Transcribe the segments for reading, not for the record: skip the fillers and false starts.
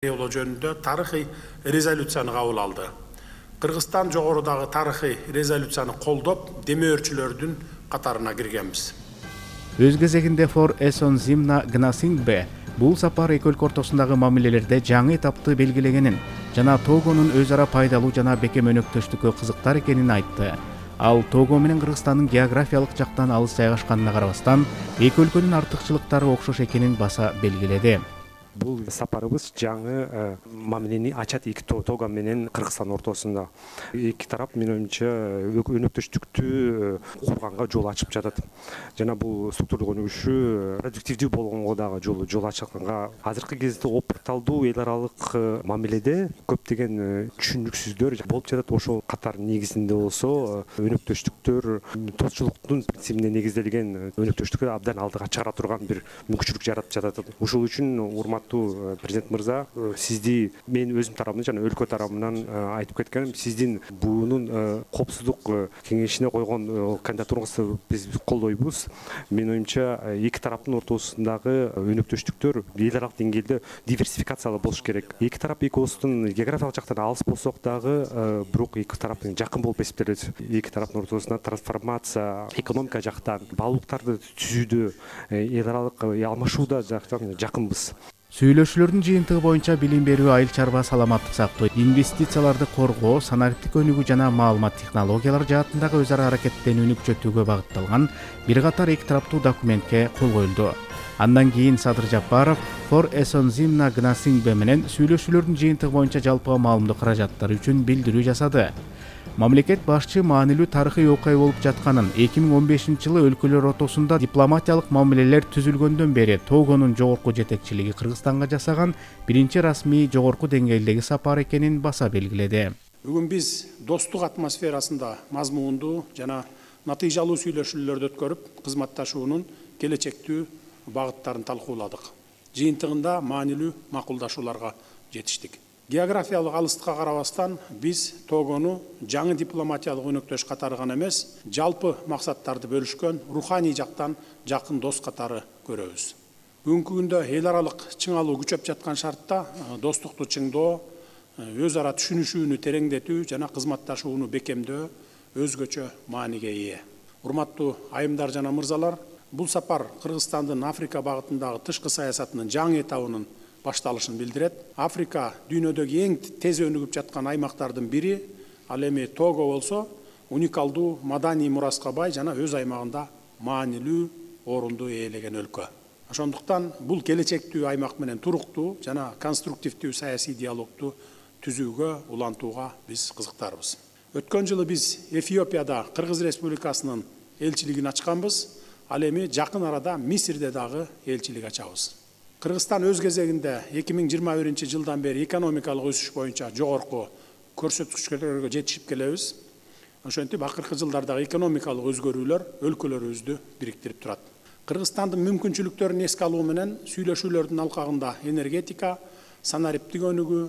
жөнүндө тарыхый резолюцияны кабыл алды. Кыргызстан жогорудагы тарыхый резолюцияны колдоп, демөөрчүлөрдүн катарына киргенбиз. Өз кезегинде Фор Эсонзимна Гнасингбе бул сапар эки өлкө ортосундагы мамилелерде жаңы этапты белгилегенин жана Тогонун өз ара пайдалуу жана бекем өнөктөштүккө кызыктар экенин айтты. Ал Того менен Кыргызстандын географиялык жактан алыс жайгашканына карабастан, эки өлкөнүн артыкчылыктары окшош экенин баса белгиледи. Бул сапарыбыз жаңы мамилени ачат эки Того менен Кыргызстан ортосунда. Эки тарап менин оюмча өнөктөштүктү курганга жол ачып жатат. Жана бул структурлук өнүгүшү продуктивдүү болгонго дагы жол ачканга. Азыркы кезде опырталдуу эл аралык мамиледе көптөгөн түшүнүксүздөр болуп жатат. Ошол катар негизинде болсо өнөктөштүктөр тосчулуктун принцибине негизделген өнөктөштүккө абдан алдыга чыгара турган бир мүмкүнчүлүк жаратып жатат. Ошол үчүн президент мырза, сизди мен өзүм тарабымдан жана өлкө тарабынан айтып кеткеним, сиздин буунун коопсуздук кеңешине койгон кандидатураңызды биз колдойбуз. Менин оюмча, эки тараптын ортосундагы өнөктөштүктөр эл аралык деңгээлде диверсификациялуу болуш керек. Эки тарап эки осунун географиялык жактан алыс болсок дагы, бирок эки тарап жакын болуп эсептелет. Эки тараптын ортосунда трансформация, экономика жактан, баалуулуктарды түзүүдө, эл аралык алмашууда жактан жакынбыз. Сүйлөшүүлөрдүн жыйынтыгы боюнча билим берүү, айыл чарба, саламаттык сактоо, инвестицияларды коргоо, санариптик өнүгүү жана маалымат технологиялар жаатындагы өз ара аракеттенүүнү күчөтүүгө багытталган бир катар эки тараптуу документке кол коюлду. Андан кийин Садыр Жапаров Фор Эсонзимна Гнасингбе менен сүйлөшүүлөрдүн жыйынтыгы боюнча жалпыга маалымдоо каражаттары үчүн билдирүү жасады. Мамлекет башчы маанилүү тарыхый окуя болуп жатканын, 2015-жылы өлкөлөр ортосунда дипломатиялык мамилелер түзүлгөндөн бери Тогонун жогорку жетекчилиги Кыргызстанга жасаган биринчи расмий жогорку деңгээлдеги сапар экенин баса белгиледи. Бүгүн биз достук атмосферасында мазмундуу жана натыйжалуу сүйлөшүүлөрдү өткөрүп, кызматташуунун келечектүү багыттарын талкууладык. Жыйынтыгында маанилүү макулдашууларга жетиштик. Географиялык алыстыкка карабастан, биз Тогону жаңы дипломатиялык өнөктөш катары гана эмес, жалпы максаттарды бөлүшкөн руханий жактан жакын дос катары көрөбүз. Бүгүнкү күндө эл аралык чыңалуу күчөп жаткан шартта достукту чыңдоо, өз ара түшүнүшүүнү тереңдетүү жана кызматташууну бекемдөө өзгөчө мааниге ээ. Урматтуу айымдар жана мырзалар, бул сапар Кыргызстандын Африка багытындагы тышкы саясатынын жаңы этабынын башталышын билдирет. Африка дүйнөдөгү эң тез өнүгүп жаткан аймактардын бири, ал эми Того болсо, уникалдуу маданий мураска бай жана өз аймагында маанилүү орунду ээлеген өлкө. Ошондуктан бул келечектүү аймак менен туруктуу жана конструктивдүү саясий диалогду түзүүгө, улантууга биз кызыктарбыз. Өткөн жылы биз Эфиопияда Кыргыз Республикасынын элчилигин ачканбыз. Ал эми жакын арада Мисирде дагы элчилик ачабыз. Кыргызстан өз кезегинде 2021-жылдан бери экономикалык өсүш боюнча жогорку көрсөткүчтөргө жетишип келебиз. Ошентип, акыркы жылдардагы экономикалык өзгөрүүлөр өлкөлөрүбүздү бириктирип турат. Кыргызстандын мүмкүнчүлүктөрүн эске алуу менен сүйлөшүүлөрдүн алкагында энергетика, санариптик өнүгүү,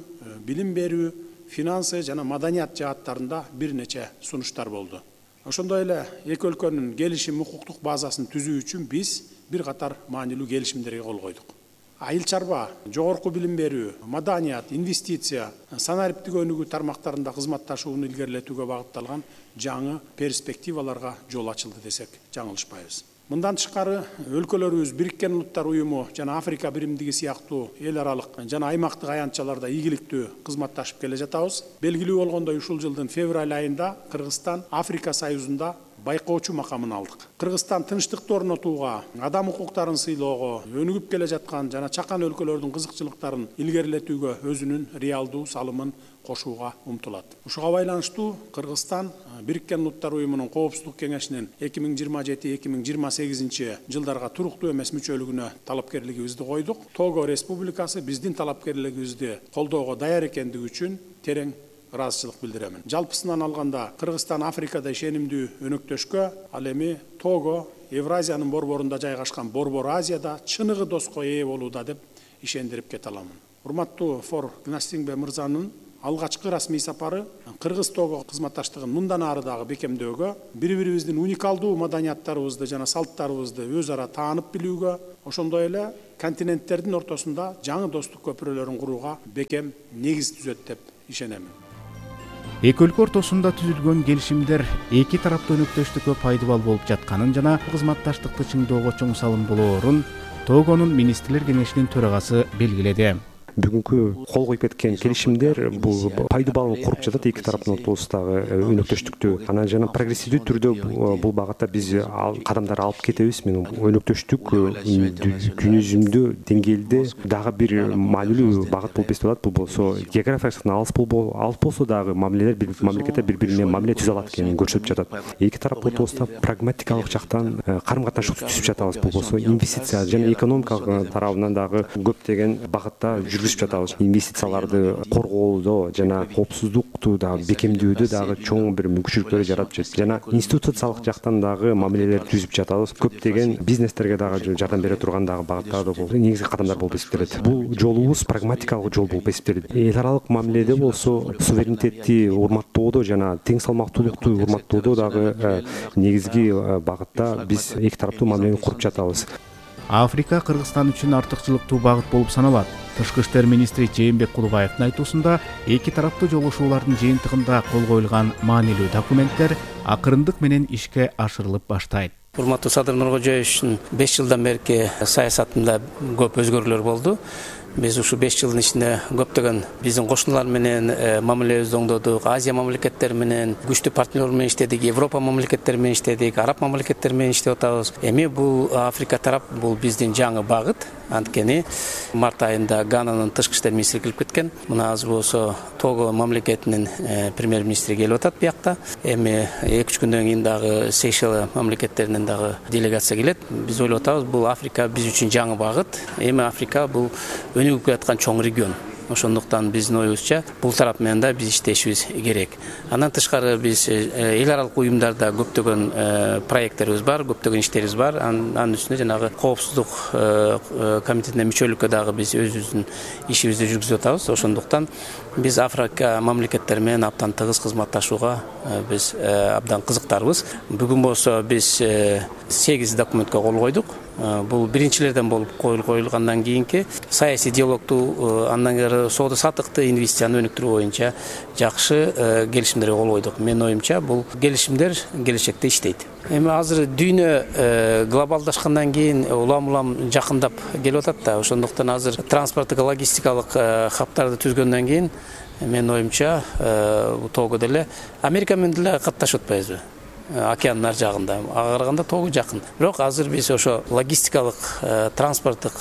билим берүү, финансы жана маданият жааттарында бир нече сунуштар болду. Ошондой эле эки өлкөнүн келишим укуктук базасын түзүү үчүн биз бир катар маанилүү келишимдерге кол койдук. Айыл чарба, жогорку билим берүү, маданият, инвестиция, санариптик өнүгүү тармактарында кызматташууну илгерилетүүгө багытталган жаңы перспективаларга жол ачылды десек жаңылышпайбыз. Мындан тышкары, өлкөлөрүбүз Бириккен Улуттар уюму жана Африка биримдиги сыяктуу эл аралык жана аймактык аянтчаларда ийгиликтүү кызматташып келе жатабыз. Белгилүү болгондой, ушул жылдын февраль айында Кыргызстан Африка Союзунда байкоочу макамын алдык. Кыргызстан тынчтыкты орнотууга, адам укуктарын сыйлоого, өнүгүп келе жаткан жана чакан өлкөлөрдүн кызыкчылыктарын илгерилетүүгө өзүнүн реалдуу салымын кошууга умтулат. Ушуга байланыштуу Кыргызстан Бириккен Улуттар уюмунун Коопсуздук кеңешинин 2027-2028 жылдарга туруктуу эмес мүчөлүгүнө талапкерлигибизди койдук. Того Республикасы биздин талапкерлигибизди колдоого даяр экендиги үчүн терең ыраазычылык билдиремин. Жалпысынан алганда, Кыргызстан Африкада ишенимдүү өнөктөшкө, ал эми Того Евразиянын борборунда жайгашкан Борбор Азияда чыныгы доско ээ болууда деп ишендирип кете аламын. Урматтуу Фор Гнасингбе мырзанын алгачкы расмий сапары Кыргыз-Того кызматташтыгын мындан ары дагы бекемдөөгө, бири-бирибиздин уникалдуу маданияттарыбызды жана салттарыбызды өз ара таанып билүүгө, ошондой эле континенттердин ортосунда жаңы достук көпүрөлөрүн курууга бекем негиз түзөт деп ишенемин. Эки өлкө ортосунда түзүлгөн келишимдер эки тараптуу өнөктөштүккө пайдабал болуп жатканын жана кызматташтыкты чыңдоого чоң салым болоорун Тогонун министрлер кеңешинин төрагасы белгиледи. Бүгүнкү кол коюп кеткен келишимдер бул пайдабал куруп жатат эки тараптын ортосундагы өнөктөштүктү. Анан жана прогрессивдүү түрдө бул багытта биз кадамдар алып кетебиз. Мен өнөктөштүк күнүзүмдүү деңгээлде дагы бир маанилүү багыт болуп эсептелет. Бул болсо географиялык алыс болсо дагы мамлекеттер бири-бири менен мамиле түзө алат экенин көрсөтүп жатат. Эки тарап ортосунда прагматикалык жактан карым-катнашты түзүп жатабыз. Бул болсо инвестиция жана экономикалык тарабынан дагы көптөгөн багытта жүргүзүп жатабыз. Инвестицияларды коргоодо жана коопсуздукту дагы бекемдөөдө дагы чоң бир мүмкүнчүлүктөр жаратып жатат. Жана институциялык жактан дагы мамилелер түзүп жатабыз. Көптөгөн бизнестерге дагы жардам бере турган дагы багыттар да болду. Негизги кадамдар болуп эсептелет. Бул жолубуз прагматикалык жол болуп эсептелет. Эл аралык мамиледе болсо суверенитетти урматтоодо жана тең салмактуулукту урматтоодо дагы негизги багытта биз эки тараптуу мамилени куруп жатабыз. Африка Кыргызстан үчүн артыкчылыктуу багыт болуп саналат. Тышкы иштер министри Жээнбек Кулубаевдин айтуусунда эки тараптуу жолугушуулардын жыйынтыгында кол коюлган маанилүү документтер акырындык менен ишке ашырылып баштайт. Урматтуу Садыр Нуркожоевичтин 5 жылдан берки саясатында көп өзгөрүүлөр болду. Биз ушу 5 жылдын ичинде көптөгөн биздин кошуналар менен мамилебизди оңдодук, Азия мамлекеттери менен күчтүү партнер менен иштедик, Европа мамлекеттери менен иштедик, Араб мамлекеттери менен иштеп атабыз. Эми бул Африка тарап бул биздин жаңы багыт. Анткени март айында Гананын тышкы иштер министри келип кеткен. Мына азыр болсо Того мамлекетинин премьер-министри келип атат биякта. Эми 2-3 күндөн кийин дагы Сейшел мамлекеттеринен дагы делегация келет. Биз ойлоп атабыз, бул Африка биз үчүн жаңы багыт. Эми Африка бул өнүгүп келаткан чоң регион. Ошондуктан биздин оюбузча бул тарап менен да биз иштешибиз керек. Андан тышкары биз эл аралык уюмдарда көптөгөн проекттерибиз бар, көптөгөн иштерибиз бар. Анын үстүнө жанагы коопсуздук комитетине мүчөлүккө дагы биз өзүбүздүн ишибизди жүргүзүп атабыз. Ошондуктан биз Африка мамлекеттери менен абдан тыгыз кызматташууга биз абдан кызыктарбыз. Бүгүн болсо биз 8 документке кол койдук. Бул биринчилерден болуп коюлгандан кийинки саясий диалогту, андан кийин соода саттыкты, инвестицияны өнүктүрүү боюнча жакшы келишимдерге кол койдук. Менин оюмча бул келишимдер келечекте иштейт. Эми азыр дүйнө глобалдашкандан кийин улам жакындап келип атат да. Ошондуктан азыр транспорттук, логистикалык хабтарды түзгөндөн кийин менин оюмча Того деле Америка менен деле катташып атпайбызбы? Океандын ар жагында. Ага караганда Того жакын. Бирок азыр биз ошо логистикалык, транспорттук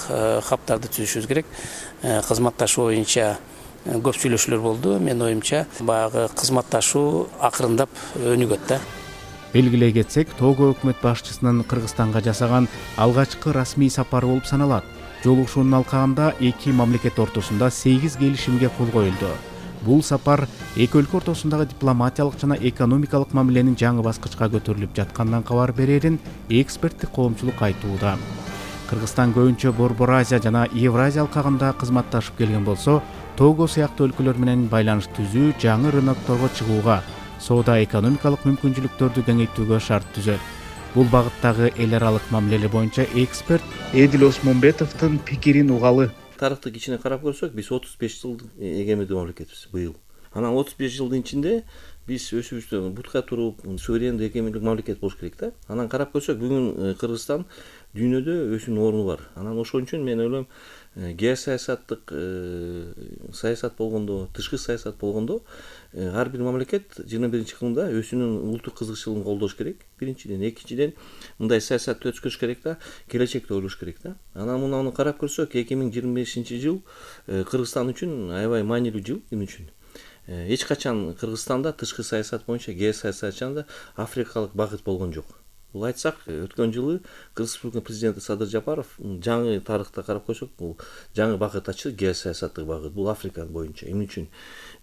хабтарды түзүшүбүз керек. Кызматташуу боюнча көп сүйлөшүүлөр болду. Менин оюмча баягы кызматташуу акырындап өнүгөт да. Белгилей кетсек, Того өкмөт башчысынын Кыргызстанга жасаган алгачкы расмий сапары болуп саналат. Жолугушуунун алкагында эки мамлекет ортосунда 8 келишимге кол коюлду. Бул сапар эки өлкө ортосундагы дипломатиялык жана экономикалык мамиленин жаңы баскычка көтөрүлүп жаткандан кабар берерин эксперттик коомчулук айтууда. Кыргызстан көбүнчө Борбор Азия жана Евразия алкагында кызматташып келген болсо, Того сыяктуу өлкөлөр менен байланыш түзүү жаңы рынокторго чыгууга, соода экономикалык мүмкүнчүлүктөрдү кеңейтүүгө шарт түзөт. Бул багыттагы эл аралык мамилелер боюнча эксперт Эдил Осмонбетовдун пикирин угалы. Тарыхтык ичине карап көрсөк, биз 35 жыл эгемендүү мамлекетпиз быйыл. Анан 35 жылдын ичинде биз өзүбүздү бутка туруп, суверендүү эгемендүү мамлекет болуш керек да. Анан карап көрсөк, бүгүн Кыргызстан дүйнөдө өзүнүн орну бар. Анан ошон үчүн мен ойлойм, геосаясаттык саясат болгондо, тышкы саясат болгондо ар бир мамлекет 21-кылымда өзүнүн улуттук кызыкчылыгын колдош керек. Биринчиден, экинчиден мындай саясатты өткөрүш керек да, келечекти ойлош керек да. Анан муну карап көрсөк, 2025-жыл Кыргызстан үчүн аябай маанилүү жыл мен үчүн. Эч качан Кыргызстанда тышкы саясат боюнча, геосаясат жагында африкалык багыт болгон жок. Бул айтсак, өткөн жылы Кыргыз Республикасынын президенти Садыр Жапаров жаңы тарыхта карап көрсөк, бул жаңы багыт ачты, геосаясаттык багыт. Бул Африка боюнча. Эмне үчүн?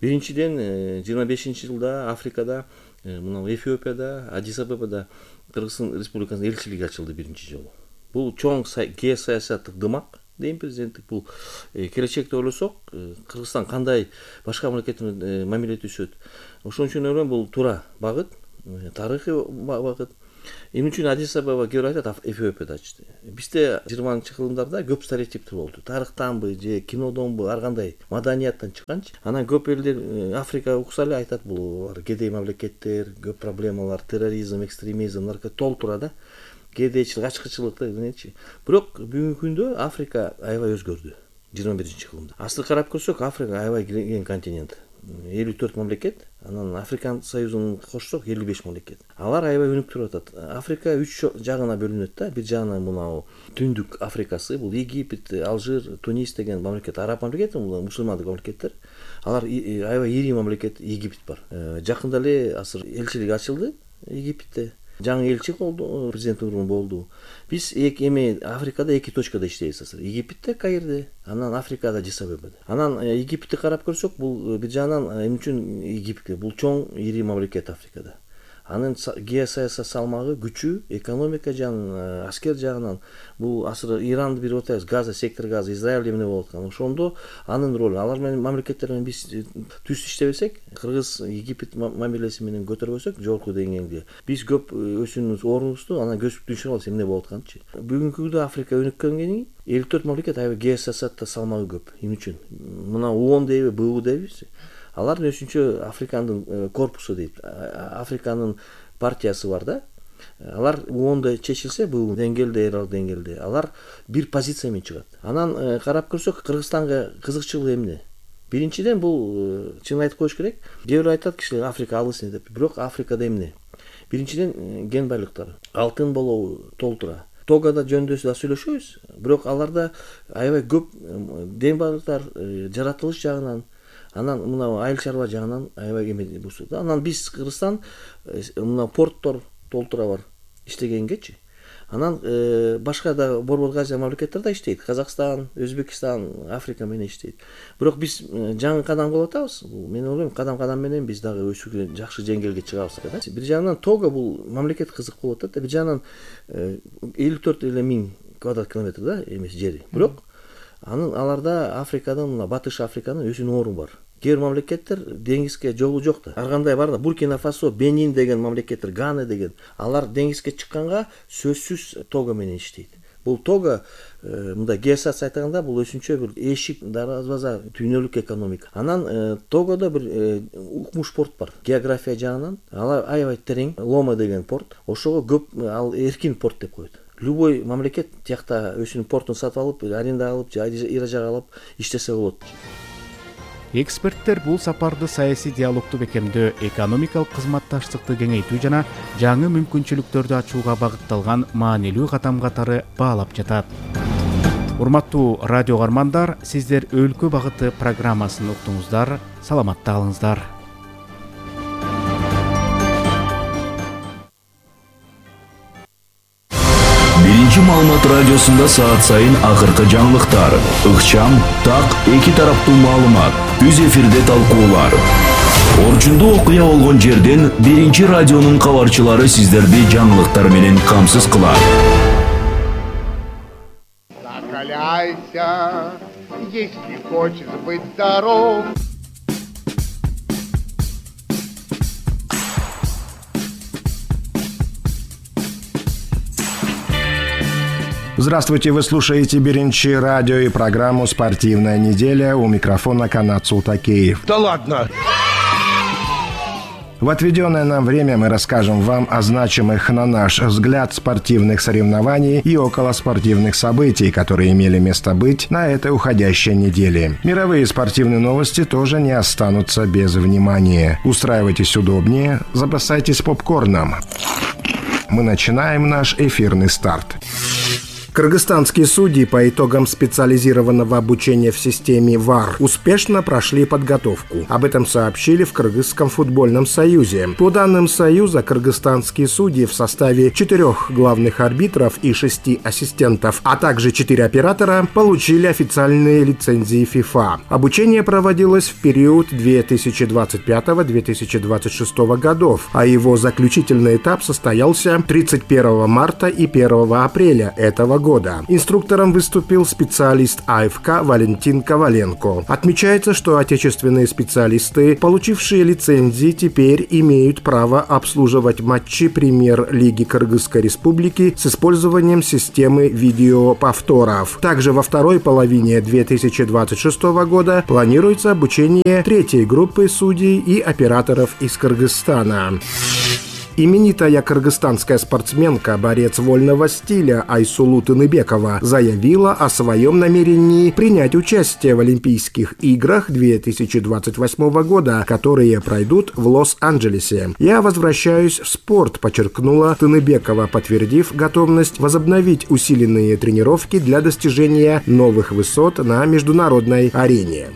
Биринчиден, 25-жылда Африкада, мына Эфиопияда, Адис-Абебада Кыргыз Республикасынын элчилиги ачылды биринчи жолу. Бул чоң геосаясаттык дымак, дейм президенттик бул келечекти ойлосок Кыргызстан кандай башка мамлекет менен мамиле түзөт. Ошон үчүн ойлойм бул туура багыт, тарыхый багыт. Эмне үчүн Адис Абеба кээ бир айтат Эфиопияда ачты. Бизде 20-кылымдарда көп стереотиптер болду. Тарыхтанбы же кинодонбу ар кандай маданияттан чыкканчы. Анан көп элдер Африка укса эле айтат булар кедей мамлекеттер, көп проблемалар, терроризм, экстремизм, толтура да. Кедейчилик, ачкычылык дегенчи. Бирок бүгүнкү күндө Африка аябай өзгөрдү 21-кылымда. Асыл карап көрсөк, Африка аябай кеңейген континент. 54 мамлекет, анан Африкан Союзун кошсок 55 мамлекет. Алар аябай өнүк туруп атат. Африка 3 жагына бөлүнөт да. Бир жагынан мынау Түндүк Африкасы, бул Египет, Алжир, Тунис деген мамлекет, араб мамлекети, мусулмандык мамлекеттер. Алар аябай ири мамлекет Египет бар. Жакында эле асыр элчилик ачылды Египетте. Жаңы элчи болду, президент болду. Биз эми Африкада 2 точкада иштейбиз азыр. Египетте, Каирде, анан Африкада Адис Абебада. Анан Египетти карап көрсөк, бул бир жагынан эмне үчүн Египет? Бул чоң ири мамлекет Африкада. Анын геосаясий салмагы, күчү, экономика жагынан, аскер жагынан бул асыр Иранды бир отабыз, Газа, сектор Газа, Израиль эмне болуп аткан. Ошондо анын ролу, алар менен мамлекеттер менен биз түз иштебесек, Кыргыз Египет мамилеси менен көтөрбөсөк, жогорку деңгээлде биз көп өзүбүздүн ордубузду анан көзүп түшүрө алабыз эмне болуп атканычы. Бүгүнкү күндө Африка өнүккөнгени 54 мамлекет аябай геосаясатта салмагы көп. Эмне үчүн? Мына ООН дейби, БУ дейбиз. Алар өзүнчө Африканын корпусу дейт. Африканын партиясы бар да. Алар ООНдо чечилсе, бул деңгээлде, эралык деңгээлде, алар бир позиция менен чыгат. Анан карап көрсөк, Кыргызстанга кызыкчылыгы эмне? Биринчиден бул чын айтып коюш керек. Кээ бир айтат кишилер Африка алыс деп. Бирок Африкада эмне? Биринчиден ген байлыктары. Алтын болобу, толтура. Тогада жөндөсү да сүйлөшөбүз. Бирок аларда аябай көп ден байлыктар, жаратылыш жагынан, анан мына айыл чарба жагынан аябай эме болсу да. Анан биз Кыргызстан мына порттор толтура бар иштегенгечи. Анан башка да Борбор Азия мамлекеттер да иштейт. Казакстан, Өзбекстан, Африка менен иштейт. Бирок биз жаңы кадам кылып атабыз. Мен ойлойм, кадам менен биз дагы өсүүгө жакшы деңгээлге чыгабыз да. Бир жагынан Того бул мамлекет кызык болуп атат. Бир жагынан 54 миң квадрат километр да эмес жери. Бирок анын аларда Африкадан, мына Батыш Африканын өзүнүн орну бар. Кээ бир мамлекеттер деңизге жолу жок да. Ар кандай бар да, Буркина Фасо, Бенин деген мамлекеттер, Гана деген. Алар деңизге чыкканга сөзсүз Того менен иштейт. Бул Того мындай геосаясий айтганда бул өзүнчө бир эшик дарбаза дүйнөлүк экономика. Анан Тогодо бир укмуш порт бар. География жагынан алар аябай терең, Лома деген порт. Ошого көп ал эркин порт деп коет. Любой мамлекет тиякта өзүнүн портун сатып алып, аренда алып, ижарага алып иштесе болот. Эксперттер бул сапарды саясий диалогду бекемдөө, экономикалык кызматташтыкты кеңейтүү жана жаңы мүмкүнчүлүктөрдү ачууга багытталган маанилүү кадам катары баалап жатат. Урматтуу радио каармандар, сиздер Өлкө багыты программасын уктуңуздар. Саламатта калыңыздар. Биринчи маалымат радиосунда саат сайын акыркы жаңылыктар, ыкчам, так, эки тараптуу маалымат, үз эфирде талкуулар. Орчундуу окуя болгон жерден биринчи радионун кабарчылары сиздерди жаңылыктар менен камсыз кылат. Закаляйся, если хочешь быть здоров. Здравствуйте, вы слушаете Биринчи радио и программу «Спортивная неделя». У микрофона Канат Султакеев. Да ладно! В отведенное нам время мы расскажем вам о значимых, на наш взгляд, спортивных соревнований и околоспортивных событий, которые имели место быть на этой уходящей неделе. Мировые спортивные новости тоже не останутся без внимания. Устраивайтесь удобнее, запасайтесь попкорном. Мы начинаем наш эфирный старт. Кыргызстанские судьи по итогам специализированного обучения в системе ВАР успешно прошли подготовку. Об этом сообщили в Кыргызском футбольном союзе. По данным союза, кыргызстанские судьи в составе 4 главных арбитров и 6 ассистентов, а также 4 оператора получили официальные лицензии ФИФА. Обучение проводилось в период 2025-2026 годов, а его заключительный этап состоялся 31 марта и 1 апреля этого года. года. Инструктором выступил специалист АФК Валентин Коваленко. Отмечается, что отечественные специалисты, получившие лицензии, теперь имеют право обслуживать матчи Премьер-лиги Кыргызской Республики с использованием системы видеоповторов. Также во второй половине 2026 года планируется обучение третьей группы судей и операторов из Кыргызстана. Именитая кыргызстанская спортсменка, борец вольного стиля Айсулу Тыныбекова заявила о своем намерении принять участие в Олимпийских играх 2028 года, которые пройдут в Лос-Анджелесе. «Я возвращаюсь в спорт», подчеркнула Тыныбекова, подтвердив готовность возобновить усиленные тренировки для достижения новых высот на международной арене.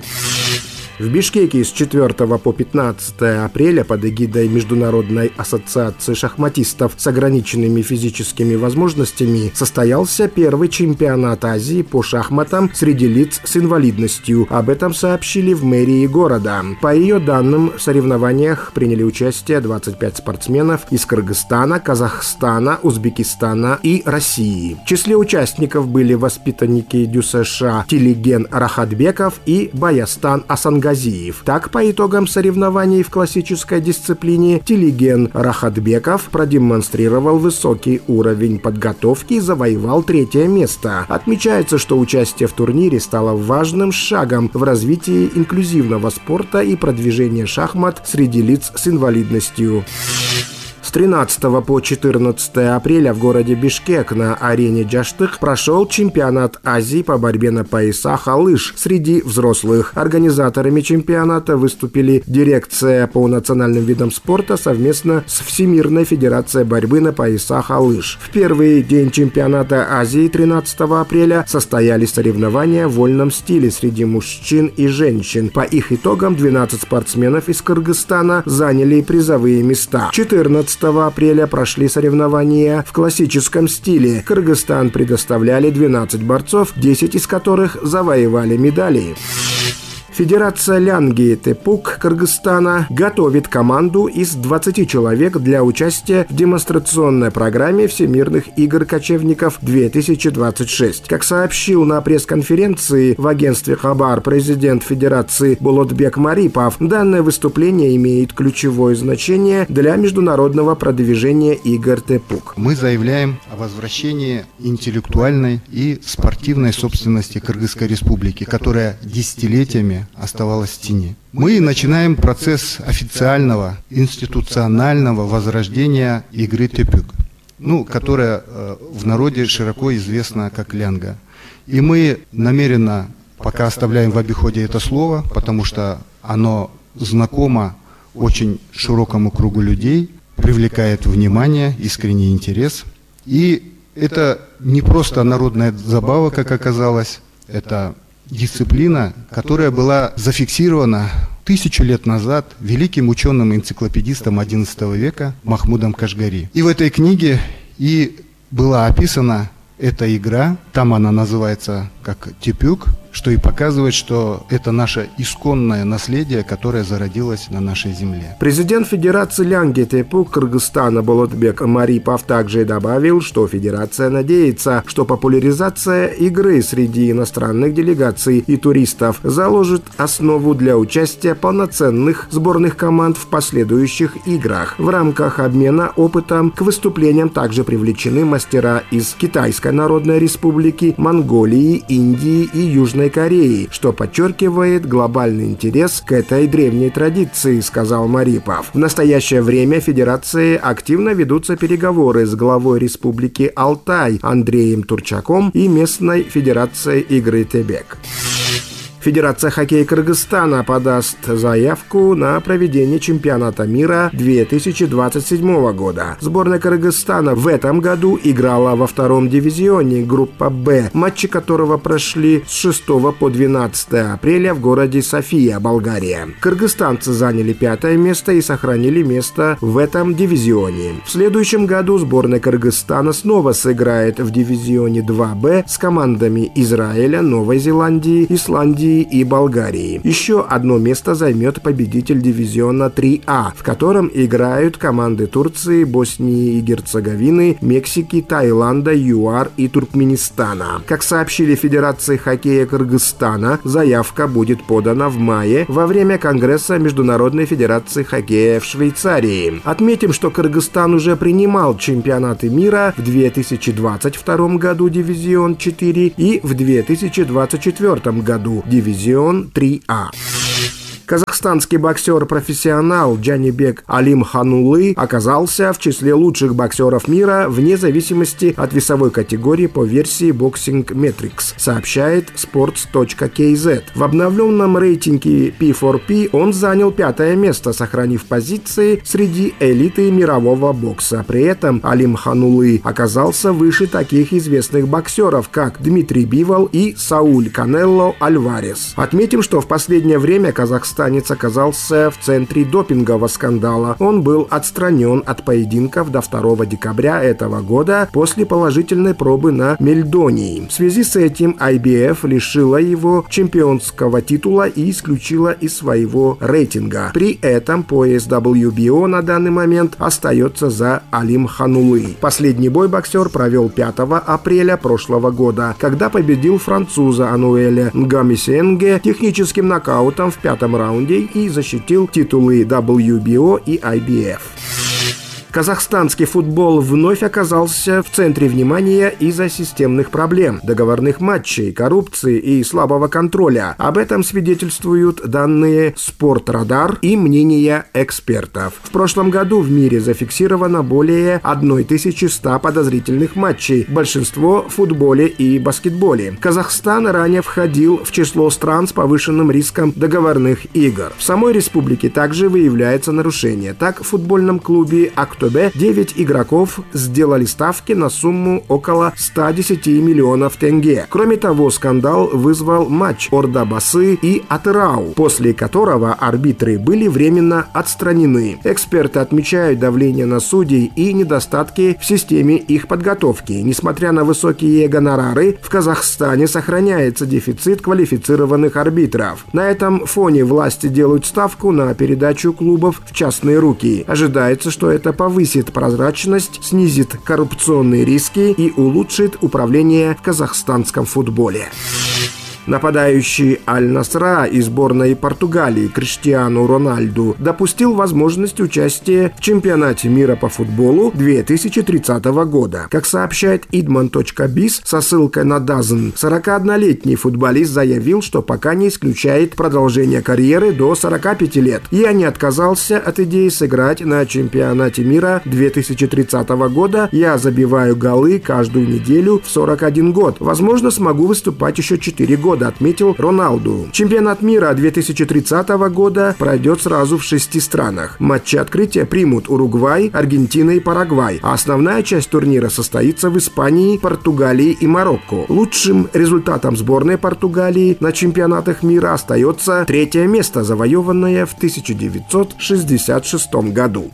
В Бишкеке с 4 по 15 апреля под эгидой Международной ассоциации шахматистов с ограниченными физическими возможностями состоялся первый чемпионат Азии по шахматам среди лиц с инвалидностью. Об этом сообщили в мэрии города. По ее данным, в соревнованиях приняли участие 25 спортсменов из Кыргызстана, Казахстана, Узбекистана и России. В числе участников были воспитанники ДЮСШ Тилиген Рахатбеков и Баястан Асангаziyev. Так, по итогам соревнований в классической дисциплине Тилиген Рахатбеков продемонстрировал высокий уровень подготовки и завоевал 3-е место. Отмечается, что участие в турнире стало важным шагом в развитии инклюзивного спорта и продвижения шахмат среди лиц с инвалидностью. С 13 по 14 апреля в городе Бишкек на арене Джаштык прошел чемпионат Азии по борьбе на поясах «Алыш» среди взрослых. Организаторами чемпионата выступили дирекция по национальным видам спорта совместно с Всемирной федерацией борьбы на поясах «Алыш». В первый день чемпионата Азии 13 апреля состоялись соревнования в вольном стиле среди мужчин и женщин. По их итогам 12 спортсменов из Кыргызстана заняли призовые места. 14 апреля прошли соревнования в классическом стиле. Кыргызстан предоставляли 12 борцов, 10 из которых завоевали медали. Федерация Лянги Тепук Кыргызстана готовит команду из 20 человек для участия в демонстрационной программе Всемирных игр кочевников 2026. Как сообщил на пресс-конференции в агентстве «Хабар» президент Федерации Болотбек Марипов, данное выступление имеет ключевое значение для международного продвижения игр Тепук. Мы заявляем о возвращении интеллектуальной и спортивной собственности Кыргызской Республики, которая десятилетиями оставалась в тени. Мы начинаем процесс официального, институционального возрождения игры Тепук, которая в народе широко известна как лянга. И мы намеренно пока оставляем в обиходе это слово, потому что оно знакомо очень широкому кругу людей, привлекает внимание, искренний интерес. И это не просто народная забава, как оказалось, это дисциплина, которая была зафиксирована 1000 лет назад великим ученым-энциклопедистом XI века Махмудом Кашгари. И в этой книге и была описана эта игра, там она называется как Тепук, что и показывает, что это наше исконное наследие, которое зародилось на нашей земле. Президент Федерации Лянги Тепук Кыргызстана Болотбек Марипов также добавил, что Федерация надеется, что популяризация игры среди иностранных делегаций и туристов заложит основу для участия полноценных сборных команд в последующих играх. В рамках обмена опытом к выступлениям также привлечены мастера из Китайской Народной Республики, Монголии, Индии и Южной Кореи, что подчеркивает глобальный интерес к этой древней традиции, сказал Марипов. В настоящее время в Федерации активно ведутся переговоры с главой Республики Алтай Андреем Турчаком и местной Федерацией игры Тебек. Федерация хоккея Кыргызстана подаст заявку на проведение чемпионата мира 2027 года. Сборная Кыргызстана в этом году играла во втором дивизионе группа «Б», матчи которого прошли с 6 по 12 апреля в городе София, Болгария. Кыргызстанцы заняли 5-е место и сохранили место в этом дивизионе. В следующем году сборная Кыргызстана снова сыграет в дивизионе 2Б с командами Израиля, Новой Зеландии, Исландии Грузии и Болгарии. Еще одно место займет победитель дивизиона 3А, в котором играют команды Турции, Боснии и Герцеговины, Мексики, Таиланда, ЮАР и Туркменистана. Как сообщили Федерации хоккея Кыргызстана, заявка будет подана в мае во время Конгресса Международной Федерации хоккея в Швейцарии. Отметим, что Кыргызстан уже принимал чемпионаты мира в 2022 году дивизион 4 и в 2024 году дивизион 3А. Казахстанский боксер-профессионал Джанибек Алимханулы оказался в числе лучших боксеров мира вне зависимости от весовой категории по версии Boxing Metrics, сообщает sports.kz. В обновленном рейтинге P4P он занял 5-е место, сохранив позиции среди элиты мирового бокса. При этом Алимханулы оказался выше таких известных боксеров, как Дмитрий Бивол и Сауль Канелло Альварес. Отметим, что в последнее время казахстанец оказался в центре допингового скандала. Он был отстранен от поединков до 2 декабря этого года после положительной пробы на мельдоний. В связи с этим IBF лишила его чемпионского титула и исключила из своего рейтинга. При этом пояс WBO на данный момент остается за Алимханулы. Последний бой боксер провел 5 апреля прошлого года, когда победил француза Ануэля Нгамисенге техническим нокаутом в 5-м раунде и защитил титулы WBO и IBF. Казахстанский футбол вновь оказался в центре внимания из-за системных проблем, договорных матчей, коррупции и слабого контроля. Об этом свидетельствуют данные «Спортрадар» и мнения экспертов. В прошлом году в мире зафиксировано более 1100 подозрительных матчей, большинство в футболе и баскетболе. Казахстан ранее входил в число стран с повышенным риском договорных игр. В самой республике также выявляется нарушение. Так, в футбольном клубе «Актобе» 9 игроков сделали ставки на сумму около 110 миллионов тенге. Кроме того, скандал вызвал матч Ордабасы и Атырау, после которого арбитры были временно отстранены. Эксперты отмечают давление на судей и недостатки в системе их подготовки. Несмотря на высокие гонорары, в Казахстане сохраняется дефицит квалифицированных арбитров. На этом фоне власти делают ставку на передачу клубов в частные руки. Ожидается, что это повысит прозрачность, снизит коррупционные риски и улучшит управление в казахстанском футболе. Нападающий Аль-Насра из сборной Португалии Криштиану Рональду допустил возможность участия в чемпионате мира по футболу 2030 года. Как сообщает idman.biz со ссылкой на DAZN, 41-летний футболист заявил, что пока не исключает продолжение карьеры до 45 лет. «Я не отказался от идеи сыграть на чемпионате мира 2030 года. Я забиваю голы каждую неделю в 41 год. Возможно, смогу выступать еще 4 года», отметил Роналду. Чемпионат мира 2030 года пройдет сразу в 6 странах. Матчи открытия примут Уругвай, Аргентина и Парагвай, а основная часть турнира состоится в Испании, Португалии и Марокко. Лучшим результатом сборной Португалии на чемпионатах мира остается 3-е место, завоеванное в 1966 году.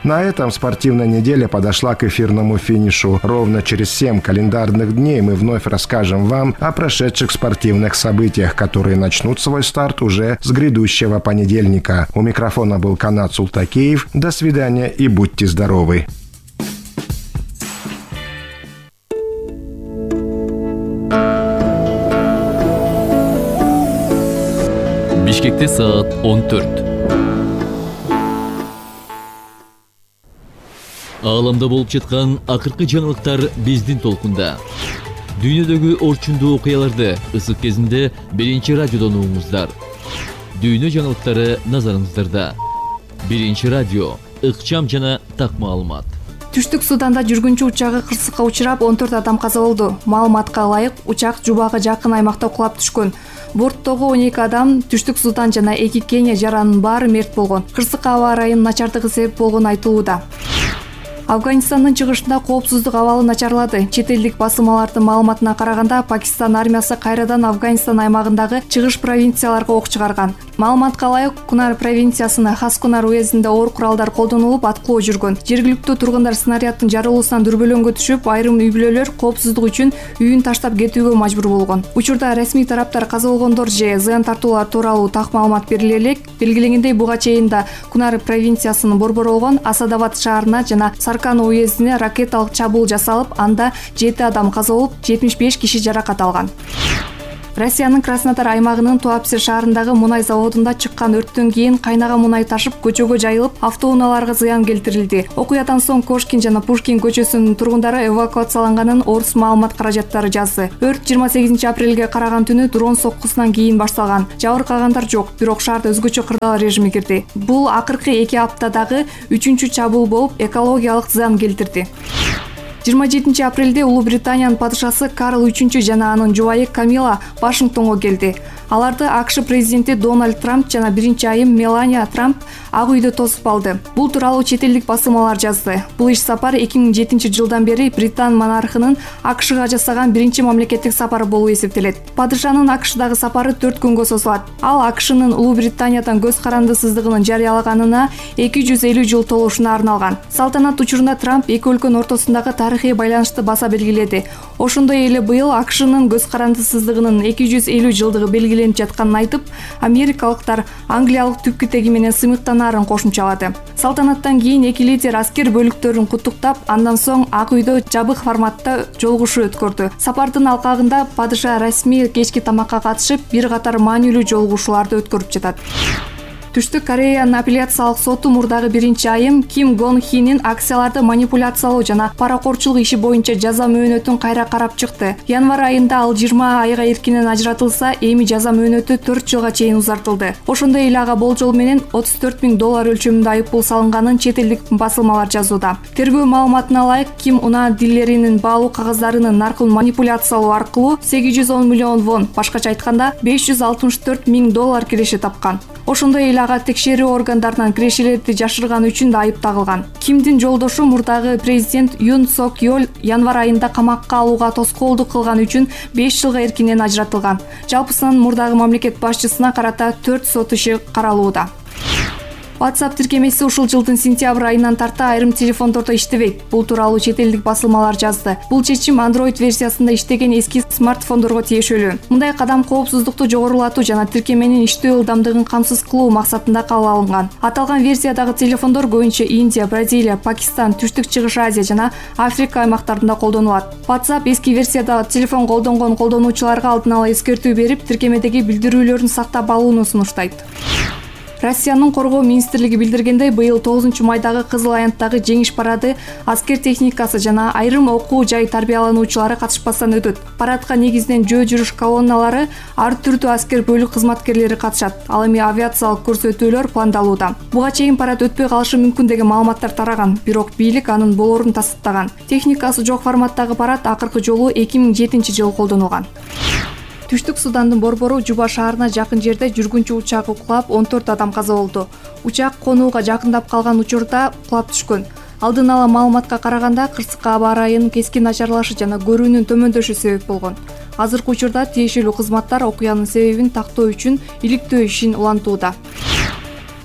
На этом спортивная неделя подошла к эфирному финишу. Ровно через 7 календарных дней мы вновь расскажем вам о прошедших спортивных событиях, которые начнут свой старт уже с грядущего понедельника. У микрофона был Канат Султакеев. До свидания и будьте здоровы. Бишкекте саат 14. Ааламда болуп жаткан акыркы жаңылыктар биздин толкунда. Дүйнөдөгү орчундуу окуяларды ысык кезинде биринчи радиодон угуңуздар. Дүйнө жаңылыктары назарыңыздарда. Биринчи радио, ыкчам жана так маалымат. Түштүк Суданда жүргүнчү учагы кырсыкка учурап 14 адам каза болду. Маалыматка ылайык, учак Жубага жакын аймакта кулап түшкөн. Борттогу 12 адам Түштүк Судан жана 2 Кения жаранын баары мерт болгон. Кырсыкка аба ырайынын начардыгы себеп болгону айтылууда. Афганистандын чыгышында коопсуздук абалы начарлады. Чет элдик басылмалардын маалыматына караганда, Пакистан армиясы кайрадан Афганистан аймагындагы чыгыш провинцияларга ок чыгарган. Маалыматка ылайык, Кунар провинциясына Хаскунар уездинде оор куралдар колдонулуп, аткылоо жүргөн. Жергиликтүү тургундар снаряддын жарылуусунан дүрбөлөңгө түшүп, айрым үй бүлөлөр коопсуздук үчүн үйүн таштап кетүүгө мажбур болгон. Учурда расмий тараптар каза болгондор же зыян тартуулар тууралуу так маалымат бериле элек. Белгиленгендей, буга чейин да Кунар провинциясынын борбору болгон Асадабад шаарына жана Саркан уездине ракеталык чабуул жасалып, анда 7 адам каза болуп, 75 киши жаракат алган. Россиянын Краснодар аймагынын Туапсе шаарындагы мунай заводунда чыккан өрттөн кийин кайнаган мунай ташып көчөгө жайылып, автоунааларга зыян келтирилди. Окуядан соң Кошкин жана Пушкин көчөсүнүн тургундары эвакуацияланганын Орус маалымат каражаттары жазды. Өрт 28 апрелге караган түнү дрон соккусунан кийин башталган. Жабыркагандар жок, бирок шаарда өзгөчө кырдаал режими кирди. Бул акыркы 2 аптадагы 3-чү чабуул болуп, экологиялык зыян келтирди. 27 апрелде Улуу Британиянын падышасы Карл III жана анын жубайы Камила Вашингтонго келди. Аларды АКШ президенти Дональд Трамп жана биринчи айым Мелания Трамп Ак үйдө тосуп алды. Бул тууралуу чет элдик басылмалар жазды. Бул иш сапар 2007 жылдан бери Британ монархынын АКШга жасаган биринчи мамлекеттик сапары болуп эсептелет. Падышанын АКШдагы сапары 4 күнгө созулат. Ал АКШнын Улуу Британиядан көз карандысыздыгын жарыялаганына 250 жыл толушуна арналган. Салтанат учурунда Трамп эки өлкөнүн ортосундагы тарыхый байланышты баса белгиледи. Ошондой эле быйыл АКШнын көз карандысыздыгынын 250 жылдыгы белгиленип жатканын айтып, америкалыктар Англиялык түпкү теги менен сыймыктанаарын кошумчалады. Салтанаттан кийин эки лидер аскер бөлүктөрүн куттуктап, андан соң Ак үйдө жабык форматта жолугушуу өткөрдү. Сапардын алкагында падыша расмий кечки тамакка катышып, бир катар маанилүү жолугушууларды өткөрүп жатат. Түштүк Кореянын апелляциялык соту мурдагы биринчи айым Ким Гон Хинин акцияларды манипуляциялоо жана паракорчулук иши боюнча жаза мөөнөтүн кайра карап чыкты. Январь айында ал 20 айга эркинен ажыратылса, эми жаза мөөнөтү 4 жылга чейин узартылды. Ошондой эле ага болжол менен $34,000 өлчөмүндө айыппул салынганын чет элдик басылмалар жазууда. Тергөө маалыматына ылайык, Ким унаа дилеринин баалуу кагаздарынын наркын манипуляциялоо аркылуу 810 миллион вон, башкача айтканда $564,000 киреше тапкан. Ошондой эле ага текшерүү органдарынан кирешелерди жашырган үчүн да айып тагылган. Кимдин жолдошу мурдагы президент Юн Сок Йол январь айында камакка алууга тоскоолдук кылган үчүн 5 жылга эркинен ажыратылган. Жалпысынан мурдагы мамлекет башчысына карата 4 сот иши каралууда. WhatsApp тиркемеси ушул жылдын сентябрь айынан тарта айрым телефондордо иштебейт. Бул тууралуу чет элдик басылмалар жазды. Бул чечим Android версиясында иштеген эски смартфондорго тиешелүү. Мындай кадам коопсуздукту жогорулатуу жана тиркеменин иштөө ылдамдыгын камсыз кылуу максатында кабыл алынган. Аталган версиядагы телефондор көбүнчө Индия, Бразилия, Пакистан, Түштүк Чыгыш Азия жана Африка аймактарында колдонулат. WhatsApp эски версияда телефон колдонгон колдонуучуларга алдын ала эскертүү берип, тиркемедеги билдирүүлөрүн сактап алууну сунуштайт. Россиянын коргоо министрлиги билдиргендей, быйыл 9-майдагы Кызыл аянттагы жеңиш парады аскер техникасы жана айрым окуу жай тарбиялануучулары катышпастан өтөт. Парадка негизинен жөө жүрүш колонналары, ар түрдүү аскер бөлүк кызматкерлери катышат. Ал эми авиациялык көрсөтүүлөр пландалууда. Буга чейин парад өтпөй калышы мүмкүн деген маалыматтар тараган, бирок бийлик анын болоорун тастыктаган. Техникасы жок форматтагы парад акыркы жолу 2007 жылы колдонулган. Түштүк Судандын борбору Жуба шаарына жакын жерде жүргүнчү учагы кулап 14 адам каза болду. Учак конууга жакындап калган учурда кулап түшкөн. Алдын ала маалыматка караганда кырсыкка аба ырайынын кескин начарлашы жана көрүүнүн төмөндөшү себеп болгон. Азыркы учурда тиешелүү кызматтар окуянын себебин тактоо үчүн иликтөө ишин улантууда.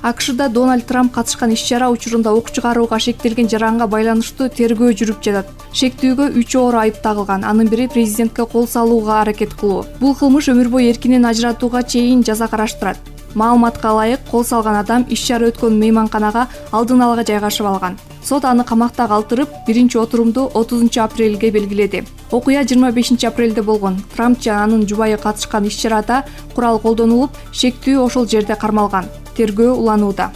АКШда Дональд Трамп катышкан иш-чара учурунда ок чыгарууга шектелген жаранга байланыштуу тергөө жүрүп жатат. Шектүүгө 3 оор айып тагылган. Анын бири президентке кол салууга аракет кылуу. Бул кылмыш өмүр бою эркинен ажыратууга чейин жаза караштырат. Маалыматка ылайык, кол салган адам иш-чара өткөн мейманканага алдын ала жайгашып алган. Сот аны камакта калтырып, биринчи отурумду 30 апрелге белгиледи. Окуя 25 апрелде болгон. Трамп жана анын жубайы катышкан иш-чарада курал колдонулуп, шектүү ошол жерде кармалган. Тергөө уланууда.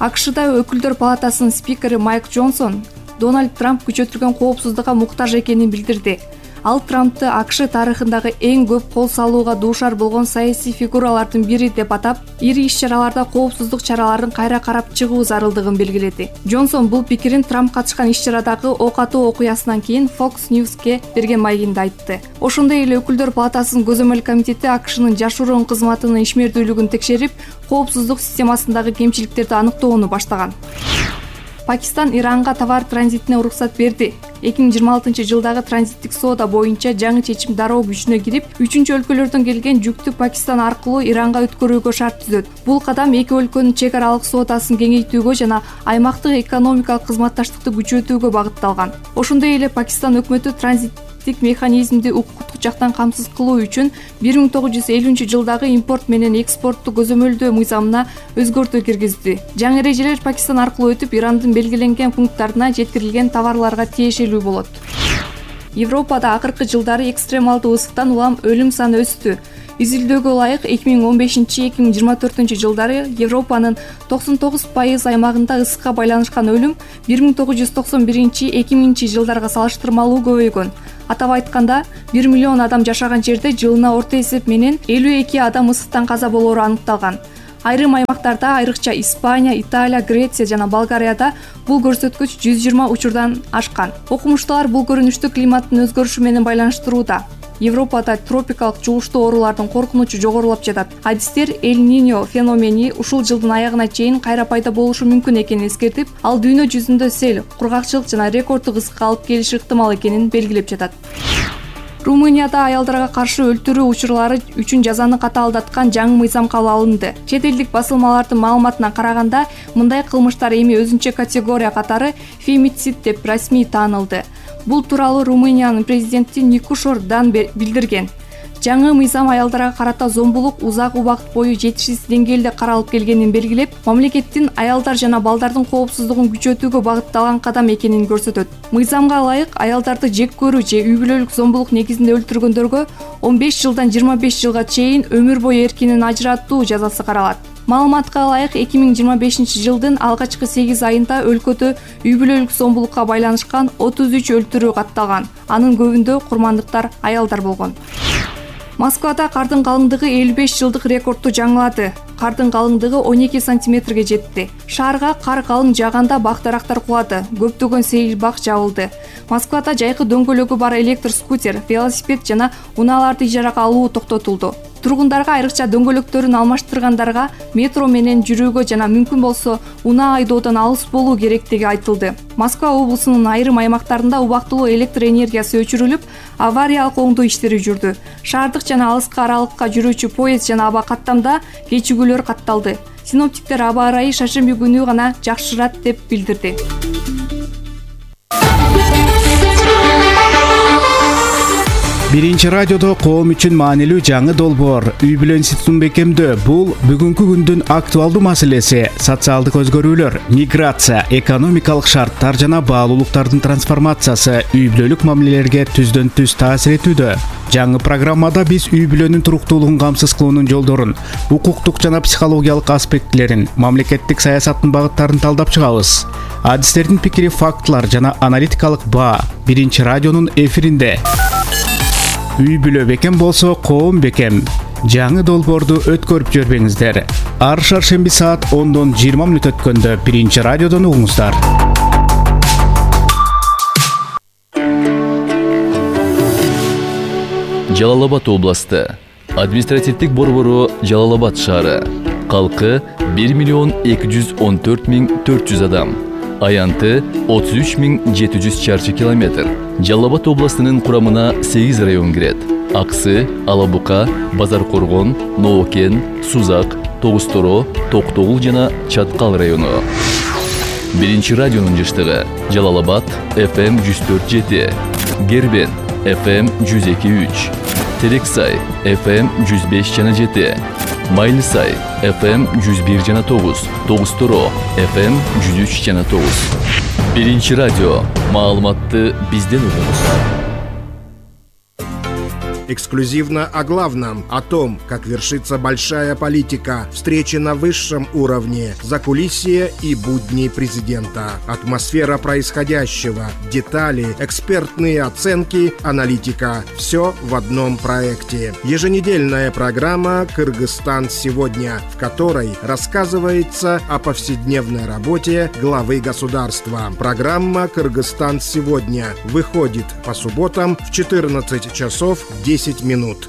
АКШда өкүлдөр палатасынын спикери Майк Джонсон Дональд Трамп күчөтүлгөн коопсуздукка муктаж экенин билдирди. Ал Трампты АКШ тарыхындагы эң көп кол салууга дуушар болгон саясий фигуралардын бири деп атап, ири иш-чараларда коопсуздук чараларын кайра карап чыгуу зарылдыгын белгиледи. Джонсон бул пикирин Трамп катышкан иш-чарадагы ок атуу окуясынан кийин Fox News'ке берген маегинде айтты. Ошондой эле өкүлдөр палатасынын көзөмөл комитети АКШнын жашыруун кызматынын ишмердүүлүгүн текшерип, коопсуздук системасындагы кемчиликтерди аныктоону баштаган. Пакистан Иранга товар транзитине уруксат берди. 2026-жылдагы транзиттик соода боюнча жаңы чечим дароо күчүнө кирип, 3-өлкөлөрдөн келген жүктү Пакистан аркылуу Иранга өткөрүүгө шарт түзөт. Бул кадам эки өлкөнүн чек аралык соодасын кеңейтүүгө жана аймактык экономикалык кызматташтыкты күчөтүүгө багытталган. Ошондой эле Пакистан өкмөтү транзиттик механизмди укуктук жактан камсыз кылуу үчүн 1950-жылдагы импорт менен экспортту көзөмөлдөө мыйзамына өзгөртүү киргизди. Жаңы эрежелер Пакистан аркылуу өтүп, Ирандын белгиленген пункттарына жеткирилген товарларга тиешелүү болот. Европада акыркы жылдары экстремалдуу ысыктан улам өлүм саны өстү. Изилдөөгө ылайык 2015-2024 жылдары Европанын 99% аймагында ысыкка байланышкан өлүм 1991-2000 жылдарга салыштырмалуу көбөйгөн. Атап айтканда, 1 миллион адам жашаган жерде жылына орто эсеп менен 52 адам ысыктан каза болоору аныкталган. Айрым аймактарда, айрыкча Испания, Италия, Греция жана Болгарияда бул көрсөткүч 120 учурдан ашкан. Окумуштуулар бул көрүнүштү климаттын өзгөрүшү менен байланыштырууда. Европада тропикалык жугуштуу оорулардын коркунучу жогорулап жатат. Адистер Эль-Ниньо феномени ушул жылдын аягына чейин кайра пайда болушу мүмкүн экенин эскертип, ал дүйнө жүзүндө сел, кургакчылык жана рекорддук ысыкка алып келиши ыктымал экенин белгилеп жатат. Румынияда аялдарга каршы өлтүрүү учурлары үчүн жазаны катаалдаткан жаңы мыйзам кабыл алынды. Чет элдик басылмалардын маалыматына караганда, мындай кылмыштар эми өзүнчө категория катары фемицид деп расмий таанылды. Бул тууралуу Румыниянын президенти Никушор Дан билдирген. Жаңы мыйзам аялдарга карата зомбулук узак убакыт бою жетишсиз деңгээлде каралып келгенин белгилеп, мамлекеттин аялдар жана балдардын коопсуздугун күчөтүүгө багытталган кадам экенин көрсөтөт. Мыйзамга ылайык аялдарды жек көрүү же үй бүлөлүк зомбулук негизинде өлтүргөндөргө 15 жылдан 25 жылга чейин өмүр бою эркинен ажыраттуу жазасы каралат. Маалыматка ылайык 2025 жылдын алгачкы 8 айында өлкөдө үй бүлөлүк зомбулукка байланышкан 33 өлтүрүү катталган. Анын көбүндө курмандыктар аялдар болгон. Москвада кардын калыңдыгы 55 жылдык рекордду жаңылады. Кардын калыңдыгы 12 сантиметрге жетти. Шаарга кар калың жааганда бак-дарактар кулады, көптөгөн сейил бак жабылды. Москвада жайкы дөңгөлөгү бар электр скутер, велосипед жана унааларды ижарага алуу токтотулду. Тургундарга айрыкча дөңгөлөктөрүн алмаштыргандарга метро менен жүрүүгө жана мүмкүн болсо унаа айдоодон алыс болуу керектиги айтылды. Москва облусунун айрым аймактарында убактылуу электр энергиясы өчүрүлүп, авариялык оңдоо иштери жүрдү. Шаардык жана алыскы аралыкка жүрүүчү поезд жана аба каттамда кечигүүлөр катталды. Синоптиктер аба ырайы шаршемби күнү гана жакшырат деп билдирди. Биринчи радиодо коом үчүн маанилүү жаңы долбоор үй бүлө институтун бекемдөө. Бул бүгүнкү күндүн актуалдуу маселеси. Социалдык өзгөрүүлөр, миграция, экономикалык шарттар жана баалуулуктардын трансформациясы үй бүлөлүк мамилелерге түздөн түз таасир этүүдө. Жаңы программада биз үй бүлөнүн туруктуулугун камсыз кылуунун жолдорун, укуктук жана психологиялык аспектилерин, мамлекеттик саясаттын багыттарын талдап чыгабыз. Адистердин пикири, фактылар жана аналитикалык баа биринчи радионун эфиринде. Үй бүлө бекем болсо коом бекем. Жаңы долбоорду өткөрүп жүрбөңүздөр. Ар шаршемби саат 10:20 өткөндө биринчи радиодон угуңуздар. Жалал Абад областы. Административдик борбору Жалал Абад шаары. Калкы 1.214.400 адам. Аянты 33.700 чарчы километр. Жалал Абад областынын курамына 8 район кирет. Аксы, Алабука, Базар Коргон, Ноокен, Сузак, Тогусторо, Токтогул жана Чаткал району. Биринчи радионун жыштыгы Жалал Абад FM 104.7, Гербен FM 102.3, Терексай FM 105.7, Майлысай FM 101.9, Тогусторо FM 103.9. Биринчи радио. Маалыматты бизден угуңуз. Эксклюзивно о главном, о том, как вершится большая политика, встречи на высшем уровне, закулисье и будни президента, атмосфера происходящего, детали, экспертные оценки, аналитика. Все в одном проекте. Еженедельная программа «Кыргызстан сегодня», в которой рассказывается о повседневной работе главы государства. Программа «Кыргызстан сегодня» выходит по субботам в 14 часов 10 минут.